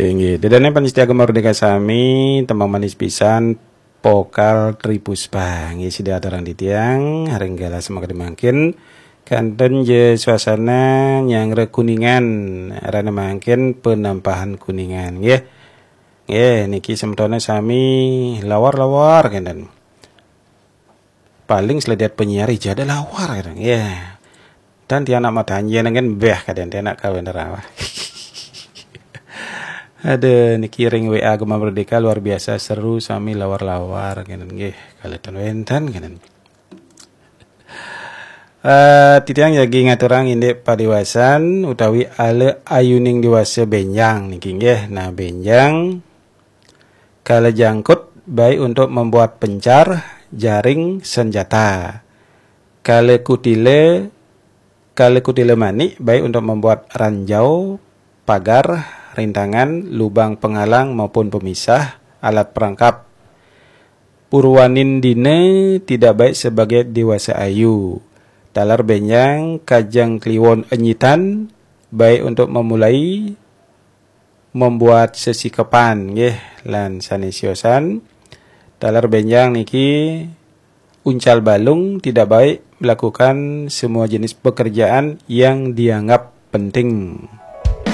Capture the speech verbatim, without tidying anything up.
Inggih, ida dané pamiarsa Gema Merdeka sami, tembang manis pisan, vokal Tri Puspa. Inggih, sida aturang titiang, ring galah sané mangkin. Kanten ja suasana nyanggra Kuningan, rena mangkin penampahan Kuningan, nggih. Nggih, niki semetoné sami lawar-lawar kanten. Paling seledet penyiar ija ada lawar kanten. Nggih. Dan tiang nak matanjén kan béh kadén tiang nak kawin rawah. Ada niki ring W A Gema Merdeka luar biasa seru sami lawar-lawar kanten nggih. Kaletan wénten kanten. Eh, titiang jagi ngaturang indik padiwasan utawi ala ayuning diwasa bénjang niki nggih. Nah, bénjang kala jangkut baik untuk membuat pencar, jaring, senjata. Kala kutila, kala kutila manik baik untuk membuat ranjau, pagar, rintangan, lubang penghalang maupun pemisah, alat perangkap. Purwanin dina tidak baik sebagai dewasa ayu. Taler bénjang kajeng kliwon enyitan, baik untuk memulai membuat sesikepan, nggih, lan sané siosan. Taler bénjang niki uncal balung tidak baik melakukan semua jenis pekerjaan yang dianggap penting.